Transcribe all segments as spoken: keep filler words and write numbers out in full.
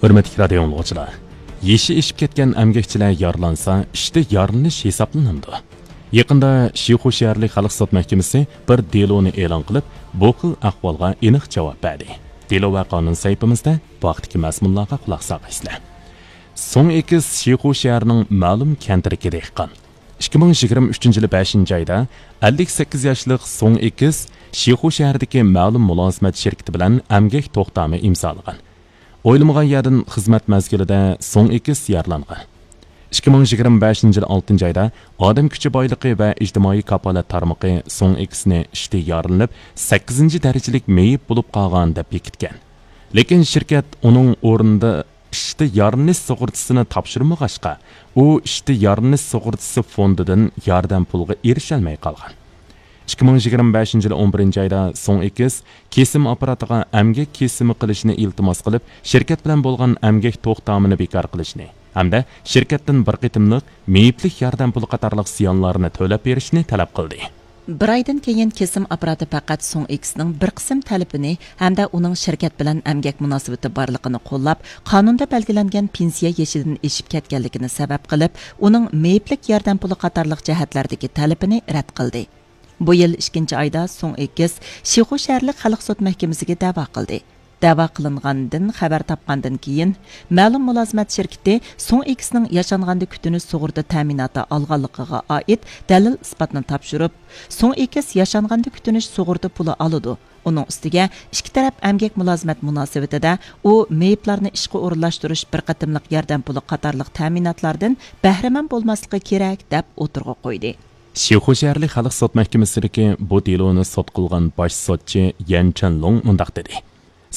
ھۆرمەتلىك رادىيو ئاڭلىغۇچىلار، يېشى ئېشىپ كەتكەن ئەمگەكچىلەر يارىلانسا، ئىشتا يارىلىنىش ھېسابلىنىدۇ. يېقىندا شىخۇ شەھەرلىك خەلق سوت مەھكىمىسى بىر دېلونى ئېلان قىلىپ، بۇ خىل ئەھۋالغا ئېنىق جاۋاب بەردى. دېلو ۋە قانۇن سەھىپىمىزدە بۇ ھەقتىكى مەزمۇنلارغا قۇلاق سالغايسىلەر. سۇڭ ئېكس شىخۇ شەھىرىنىڭ مەلۇم كەنتىدىكى دېھقان. ئىككى مىڭ يىگىرمە ئۈچىنچى يىلى بەشىنچى ئايدا ئەللىك سەككىز ياشلىق سۇڭ ئېكس شىخۇ شەھىرىدىكى مەلۇم مۇلازىمەت شىركىتى بىلەن ئەمگەك توختامى ئىمزالىغان. ئويلىمىغان يەردىن خىزمەت مەزگىلىدە سۇڭ ئېكس يارىلانغان. ئىككى مىڭ يىگىرمە بەشىنچى يىلى ئالتىنچى ئايدا ئادەم كۈچى بايلىقى ۋە ئىجتىمائىي كاپالەت تارمىقى سۇڭ ئېكسنى ئىشتا يارىلىنىپ، سەككىزىنچى دەرىجىلىك مېيىپ بولۇپ قالغان دەپ بېكىتكەن. لېكىن شىركەت ئۇنىڭ ئورنىدا ئىشتا يارىلىنىش سۇغۇرتىسىنى تاپشۇرمىغاچقا، ئۇ ئىشتا يارىلىنىش سۇغۇرتىسى فوندىدىن ياردەم پۇلىغا ئېرىشەلمەي قالغان. ئىككى مىڭ يىگىرمە بەشىنچى يىلى ئون بىرىنچى ئايدا سۇڭ ئېكس كېسىم ئاپپاراتىغا ئەمگەك كېسىمى قىلىشنى ئىلتىماس قىلىپ، شىركەت بىلەن بولغان ئەمگەك توختامىنى بىكار قىلىشنى ھەمدە شىركەتتىن بىر قېتىملىق مېيىپلىك ياردەم پۇلى قاتارلىق زىيانلارنى تۆلەپ بېرىشنى تەلەپ قىلدى. بىر ئايدىن كېيىن كېسىم ئاپپاراتى پەقەت سۇڭ ئېكسنىڭ بىر قىسىم تەلىپىنى ھەمدە ئۇنىڭ شىركەت بىلەن ئەمگەك مۇناسىۋىتى بارلىقىنى قوللاپ، قانۇندا بەلگىلەنگەن پېنسىيە يېشىدىن ئېشىپ كەتكەنلىكىنى سەۋەب قىلىپ، ئۇنىڭ مېيىپلىك ياردەم پۇلى قاتارلىق جەھەتلەردىكى تەلىپىنى رەت قىلدى. بۇ يىل ئىككىنچى ئايدا سۇڭ ئېكس شىخۇ شەھەرلىك خەلق سوت مەھكىمىسىگە دەۋا قىلدى. دەۋا قىلىنغاندىن خەۋەر تاپقاندىن كېيىن، مەلۇم مۇلازىمەت شىركىتى سۇڭ ئېكسنىڭ ياشانغاندا كۈتۈنۈش سۇغۇرتا تەمىناتى ئالغانلىقىغا ئائىت دەلىل ئىسپاتنى تاپشۇرۇپ، سۇڭ ئېكس ياشانغاندا كۈتۈنۈش سۇغۇرتا پۇلى ئالىدۇ. ئۇنىڭ ئۈستىگە ئىككى تەرەپ ئەمگەك مۇلازىمەت مۇناسىۋىتىدە ئۇ مېيىپلارنى ئىشقا ئورۇنلاشتۇرۇش بىر قېتىملىق ياردەم پۇلى قاتارلىق تەمىناتلاردىن بەھرىمەن بولماسلىقى كېرەك، دەپ ئوتتۇرىغا قويدى. شىخۇ شەھەرلىك خەلق سوت مەھكىمىسىدىكى بۇ دېلونى سوت قىلغان باش سوتچى يەن چېنلۇڭ مۇنداق دېدى: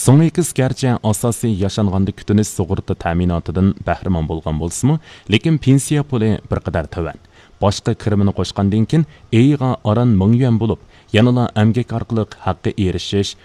سۇڭ ئېكس گەرچە ئاساسىي ياشانغاندا كۈتۈنۈش سۇغۇرتا تەمىناتىدىن بەھرىمەن بولغان بولسىمۇ، لېكىن پېنسىيە پۇلى بىر قەدەر تۆۋەن. باشقا كىرىمىنى قوشقاندىن كېيىن، ئېيىغا ئاران مىڭ يۈەن بولۇپ، يەنىلا ئەمگەك ئارقىلىق ھەققە ئېرىشىش،